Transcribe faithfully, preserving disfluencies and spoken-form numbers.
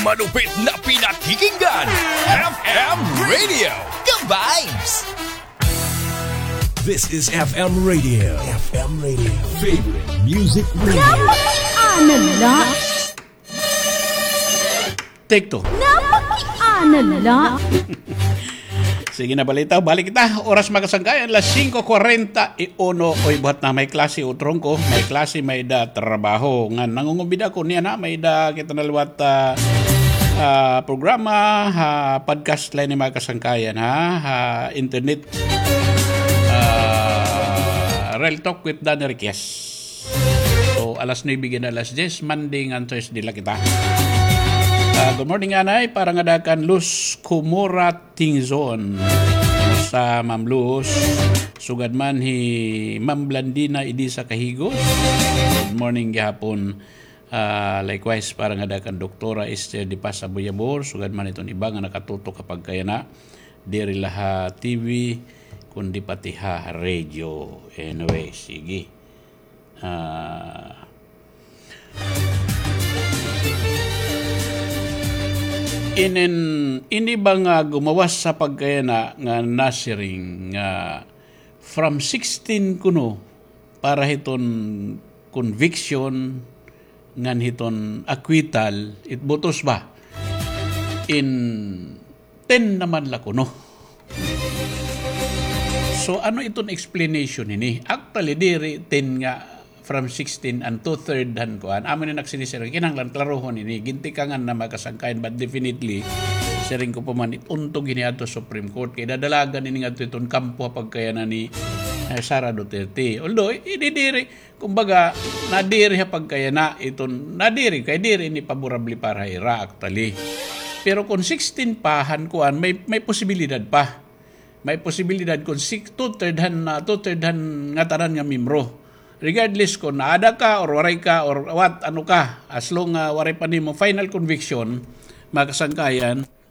Malupit na pinakikinggan, F M Radio, ka-vibes! This is F M Radio. F M Radio. Favorite music radio. Napakiana la. Take two. Napakiana la. Sige na, balita, balik kita. Oras, mga kasangkayan, las singko kwarenta y uno. Oy, buhat na, may klase, utrong ko. May klase, may da trabaho. Nga, nangungumbida ko niya na, may da kita na liwat, ah, ah, programa, ha, podcast la ini, mga kasangkayan, ha, ha, internet. Ah, Real Talk with Danny Riquez. So, alas nuebe hanggang alas diyes, Monday ngan Thursday la kita. Ah, good morning, anay. Para ngada kan Luz Kumura Tingzon. Sa Ma'am Luz. Sugad man hi Ma'am Blandina Idisa Kahigos. Good morning gihapon. Ah, likewise, para ngada kan Doktora Esther de Paz Aboyabor. Sugad man iton iba nga nakatutok ha pagkayana. Diri la ha T V, kundi pati ha radio. Anyway, sige. Ah, inin, ini ba nga gumawas sa pagkayana nga nasiring nga from sixteen kuno para hiton conviction ngan hiton acquittal, it botos ba? In ten naman la kuno. So, ano iton explanation hini? Actually, diri ten nga from sixteen and two-third han kuan. Amo ni nagsinisir, kinahanglan klarohon ini. Gintikangan na makasangkayan, but definitely, siring ko pa man, it untog hini adto Supreme Court. Kay dadalagan ini ngadto iton kampo ha pagkayana ni, eh, Sara Duterte. Although, ini diri, kumbaga, nadiri ha pagkayana iton, nadiri, kay diri ini paborable para ha ira, actually. Pero kung sixteen pa han kuan, may, may posibilidad pa. May posibilidad kung six, two-third han, ah, two-third han ngatanan nga miyembro. Regardless kung naada ka or waray ka or what, ano ka, as long, ah, waray pa nimo final conviction, mga kasangkayan,